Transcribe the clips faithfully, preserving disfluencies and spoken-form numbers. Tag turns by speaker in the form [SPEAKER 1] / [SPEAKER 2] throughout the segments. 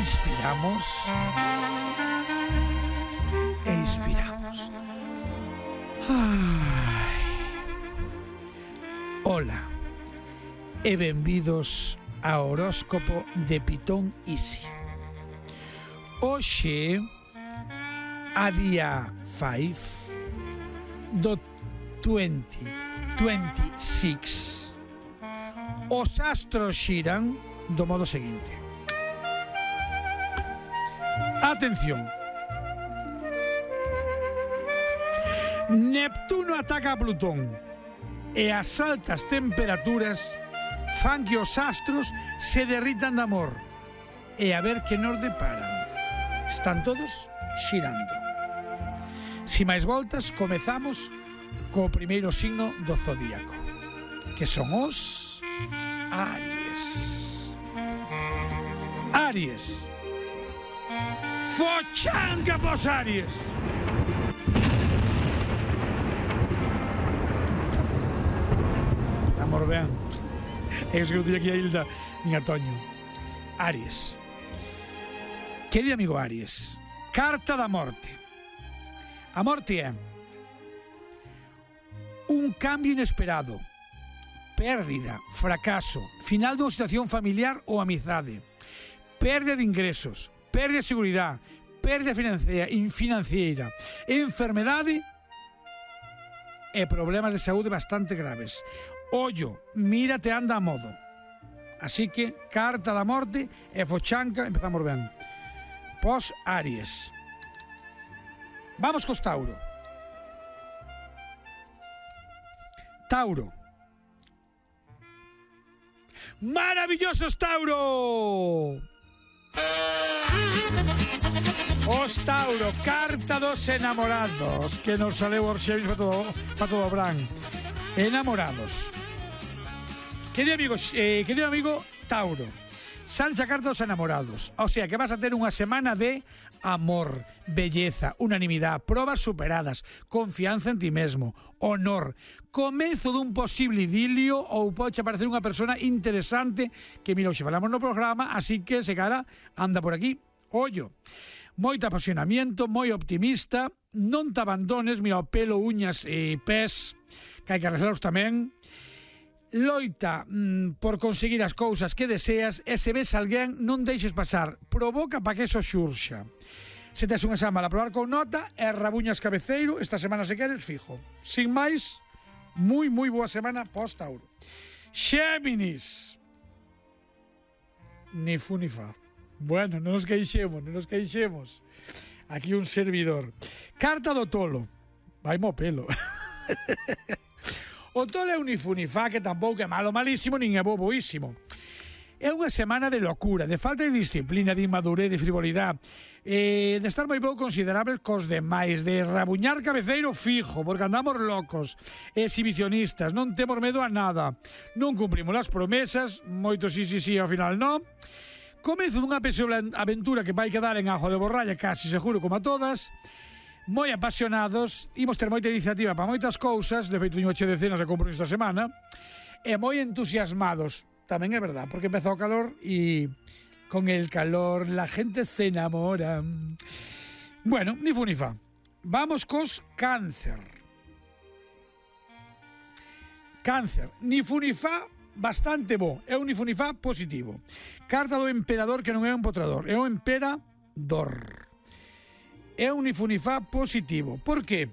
[SPEAKER 1] inspiramos e inspiramos. Ai. Ola e benvidos ao horóscopo de Pitón Easy. Hoxe, a día cinco do vinte veintiséis, os astros xiran do modo seguinte. Atención. Neptuno ataca a Plutón e as altas temperaturas fan que os astros se derritan de amor. E a ver que nos deparan. Están todos xirando. Si máis voltas, comezamos co primeiro signo do zodíaco, que son os Aries. Aries. Fochanca pos Aries. Amor, vean. Es que non teño aquí a Hilda nin a Toño. Aries. Querido amigo Aries, carta da morte. A morte é un cambio inesperado, pérdida, fracaso, final dunha situación familiar ou amizade, pérdida de ingresos, pérdida de seguridade, pérdida financiera, enfermedade e problemas de saúde bastante graves. Ollo, mírate, anda a modo. Así que, carta da morte e fochanca, empezamos ben. Pos Aries. Vamos cos Tauro. Tauro. ¡Maravillosos, Tauro! Os Tauro, carta dos enamorados, que nos saleu Orxevis para todo, para todo Bran. Enamorados. Querido amigo, eh, querido amigo Tauro, salsa a carta dos enamorados. O sea, que vas a ter unha semana de amor, belleza, unanimidade, probas superadas, confianza en ti mesmo, honor, comezo dun posible idilio ou pode aparecer unha persona interesante que, mira, hoxe falamos no programa, así que se cara anda por aquí. Ollo, moito apasionamiento, moi optimista, non te abandones, mira, o pelo, uñas e pés, que hai que arreglaros tamén. Loita mm, por conseguir as cousas que deseas e se ves alguén non deixes pasar, provoca para que eso xurxa. Se tes un exame a probar con nota e rabuñas cabeceiro, esta semana se queres fijo. Sin máis, moi moi boa semana pos Tauro. Xéminis. Ni fu ni fa. Bueno, non nos queixemos, non nos queixemos. Aquí un servidor. Carta do tolo. Vai mo pelo. O tolo é un ifunifá que tampouco é malo malísimo nin é boboísimo. É unha semana de locura, de falta de disciplina, de inmadurez, de frivolidade, eh, de estar moi pouco considerables cos demais, de rabuñar cabeceiro fijo, porque andamos locos, exhibicionistas, non temos medo a nada, non cumprimos as promesas, moito sí, sí, sí, ao final non. Comezo dunha pesoa aventura que vai quedar en ajo de borralla, casi seguro como a todas. Moi apasionados, imos ter moita iniciativa para moitas cousas, de feito, teño ocho decenas de compromiso esta semana, e moi entusiasmados, tamén é verdad, porque empezou o calor e con el calor la gente se enamora. Bueno, ni fu ni fa. Vamos cos Cáncer. Cáncer, ni fu ni fa, bastante bo, é un ni fu ni fa positivo. Carta do emperador que non é un potrador, é un emperador. É un ifunifá positivo. Por qué?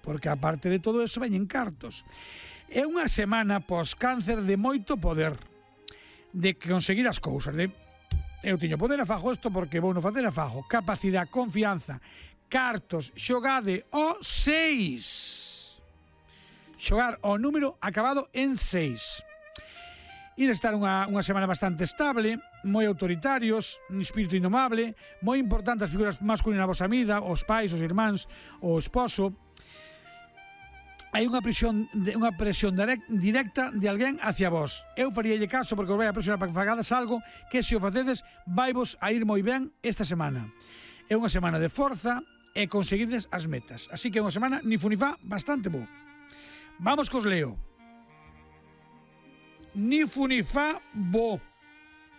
[SPEAKER 1] Porque aparte de todo eso veñen cartos. É unha semana pos Cáncer de moito poder, de conseguir as cousas, de eu teño poder a fajo isto porque vou no facer a fajo, capacidade, confianza, cartos, xogade o seis. Xogar o número acabado en seis. Ir a estar unha, unha semana bastante estable, moi autoritarios, un espírito indomable, moi importantes as figuras masculinas na vosa vida, os pais, os irmáns, o esposo. Hai unha presión, unha presión directa de alguén hacia vos. Eu faríalle caso porque os vai a presionar para que fagades algo que, se o facedes, vai vos a ir moi ben esta semana. É unha semana de forza e conseguides as metas. Así que é unha semana ni fu ni fa bastante bo. Vamos cos Leo. Ni fu ni fa bo.